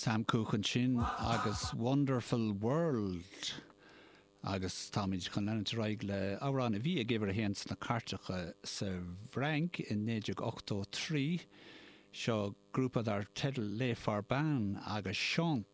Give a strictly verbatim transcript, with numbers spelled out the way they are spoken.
Sam Cooke ansin agus Wonderful World agus táimid chun leanúint ar aghaidh le amhrán a bhí ag uimhir a haon sna cairteacha sa bhFrainc in naoi déag ochtó trí seo grúpa dar teideal Les Forbanes agus Chante.